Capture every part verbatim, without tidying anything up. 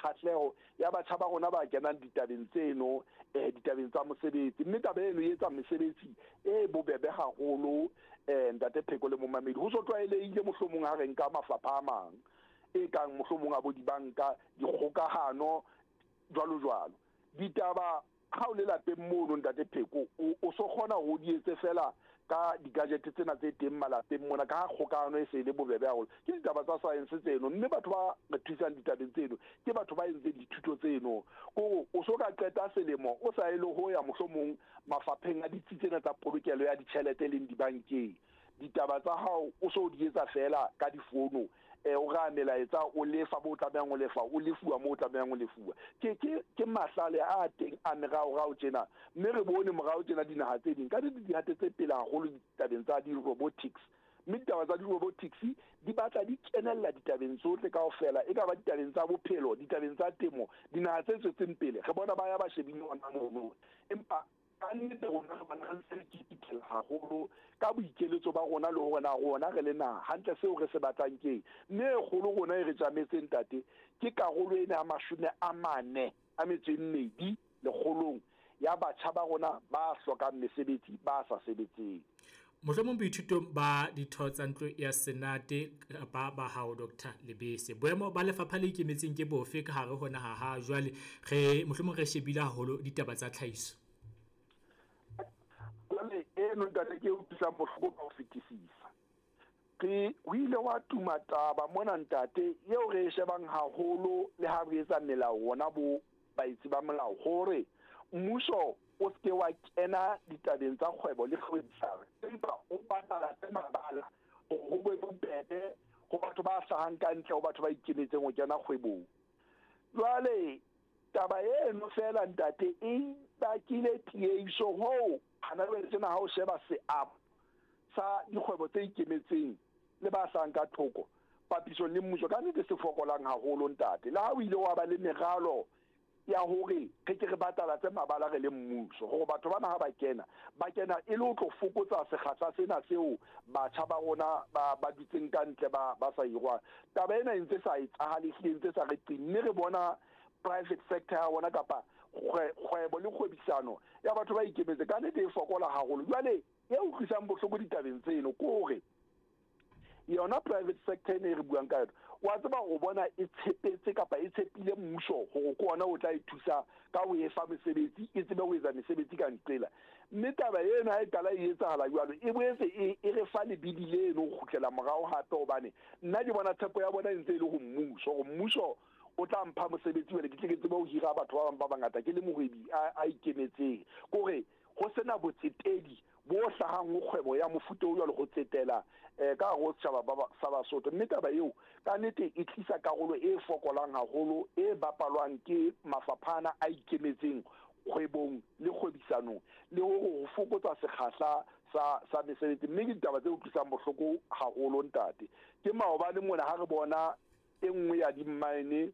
kgahleho ya batjha ba rona ba kenang ditabeng tseno, eh ditabeng tsa mosebetsi. Mme taba eno e etsa mesebetsi e bobebe haholo, eh ntate Pheko le momamedi. Ho so tlwaelehile mohlomong ha re nka mafapha a mang e kang mohlomong a bo dibanka, dikgokahano, jwalo jwalo. Ditaba ha o le lapeng mono, ntate Pheko, o so kgona ho di etse fela ka di-gadget tsena tse teng malapeng mona, ka ha kgokahano e se e le bobebe haholo. Ke ditaba tsa science tseno, mme batho ba re thusang ditabeng tseno ke batho ba entseng dithuto tseno. Kore o so ka qeta selemo o sa e le ho ya mohlomong mafapheng a ditsi tsena tsa polokelo ya ditjhelete leng dibankeng, ditaba tsa hao o so di etsa fela ka difono, eh o ra melaetsa, o lefa bo tlamehang ho lefa, o lefuwa mo o tlamehang ho lefuwa. Ke ke ke mahlale a teng a meraorao tjena, mme re bone morao tjena dinaha tse ding ka di di hatetse pele haholo ditabeng tsa di-robotics. Mme ditaba tsa di-robotics di batla di kenella ditabeng tsohle kaofela, e ka ba ditabeng tsa bophelo, ditabeng tsa temo. Dinaha tse tswetseng pele re bona ba ya ba shebile hona mono, empa ka nnete rona re bona re ntse re kipitela haholo ka boikeletso ba rona le hore na rona re le naha hantle seo re se batlang keng. Mme e kgolo rona e re tjametseng, ntate, ke karolo ena ya mashome a mane a metso e mmedi lekgolong ya batjha ba rona ba hlokang mesebetsi, ba sa sebetseng. Mohlomong boithutong ba ditho tsa ntlo ya Senate ba ba hao, Doctor Lebese, boemo ba lefapha le ikemetseng ke bofe ka hare ho naha ha jwale re mohlomong re shebile haholo ditaba tsa tlhahiso? Jwale eno, ntate, ke e utlwisang bohloko ka ho fetisisa. Re ho ile wa tuma taba mona, ntate, eo re e shebang haholo le ha re etsa melao rona bo baetsi ba molao, hore mmuso o seke wa kena ditabeng tsa kgwebo le kgwebisano, empa o batalatse mabala hore ho be bobebe ho batho ba hlahang ka ntle, ho batho ba ikemetseng ho kena kgwebong. Jwale taba eno fela, ntate, e bakile tiehiso hoo hana jwale tjena ha o sheba seabo sa dikgwebo tse ikemetseng le ba hlahang ka thoko papisong le mmuso, ka nnete se fokolang haholo, ntate. Le ha o ile wa ba le meralo ya hore re ke re batalatse mabala re le mmuso, hore batho bana ha ba kena, ba kena e le ho tlo fokotsa sekgahla sena seo batjha ba rona ba ba dutseng ka ntle, ba ba sa hirwang, taba ena e ntse sa etsahale, ehlile ntse sa re qi. Mme re bona private sector ya bona kapa kgwebo le kgwebisano ya batho ba ikemetse ka nnete e fokola haholo. Jwale e utlwisang bohloko ditabeng tseno ke hore yona private sector ene e re buang ka yona, wa tseba, o bona e tshepetse kapa e tshepile mmuso hore ke ona o tla e thusa ka ho e fa mesebetsi, e tsebe ho etsa mesebetsi ka nqela. Mme taba eno ha e qala e etsahala jwalo, e boetse e e re fa lebidi leno ho kgutlela morao hape, hobane nna ke bona tshepo ya bona e ntse e le ho mmuso, hore mmuso o tla mpha mosebetsi jwale ke tle ke tsebe ho hira batho ba bang ba bangata ke le mohwebi a a ikemetseng. Kore ho sena botsetedi bo hlahang ho kgwebo ya mofuta o jwalo ho tsetela eh ka hare ho setjhaba ba sa Basotho. Mme taba eo ka nnete e tlisa karolo e fokolang haholo e bapalwang ke mafaphana a ikemetseng kgwebong le kgwebisanong le hore ho fokotsa sekgahla sa sa mesebetsi. Mme ke ditaba tse utlwisang bohloko haholo, ntate. Ke maobane mona ha re bona e nngwe ya di-mine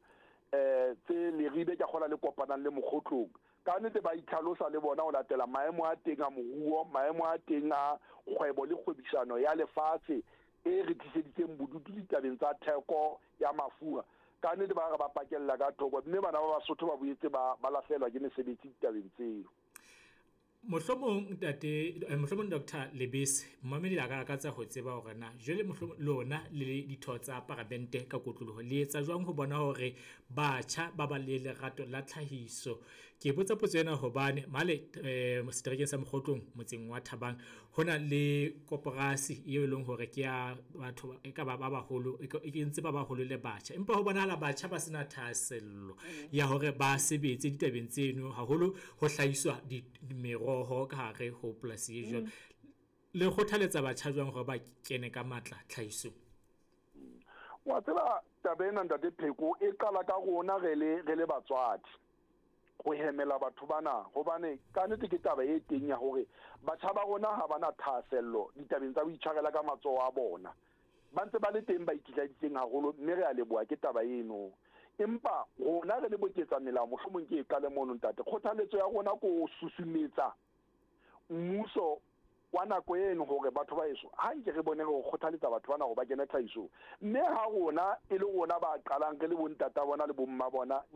eh tse Leribe, ke kgola le kopanang le Mokgotlong, ka nnete ba itlhalosa le bona ho latela maemo a teng a moruo, maemo a teng a kgwebo le kgwebisano ya lefatshe e re tliseditseng bodutu ditabeng tsa theko ya mafura. Ka nnete ba re ba pakella ka thoko, mme bana ba Basotho ba boetse ba ba lahlehelwa ke mesebetsi ditabeng tseo. Mohlomong ntate, mohlomong Doctor Lebese, momamedi a ka lakatsa ho tseba hore na jwale mohlomong lona le ditho tsa paramente ka kotloloho le etsa jwang ho bona hore batjha ba ba le lerato la tlhahiso. Ke botsa potso ena hobane male eh seterekeng sa Mokgotlong, motseng wa Thabang, ho na le koporasi eo e leng hore ke ya batho e ka ba ba baholo, e kentse ba baholo le batjha, empa ho bonahala batjha ba sena thahasello ya hore ba sebetse ditabeng tseno, haholo ho hlahiswa meroho ka hare ho polasi e jwalo. Le kgothaletsa batjha jwang hore ba kene ka matla tlhahisong? Wa tseba, taba ena, ntate Pheko, e qala ka rona re le re le batswadi ho hemela batho bana, hobane ka nnete ke taba e teng ya hore batjha ba rona ha bana thahasello ditabeng tsa ho itshwarela ka matsoho a bona. Ba ntse ba le teng ba ikitlaeditseng haholo, mme re a leboha ke taba eno. Empa rona re le boketsa melao, mohlomong ke e qale mono, ntate. Kgothaletso ya rona ko ho susumetsa mmuso wa nako eno hore batho ba heso, ha nke re bone re kgothaletsa batho bana hore ba kene tlhahisong. Mme ha rona e le rona ba qalang re le bontata bona le bomma bona.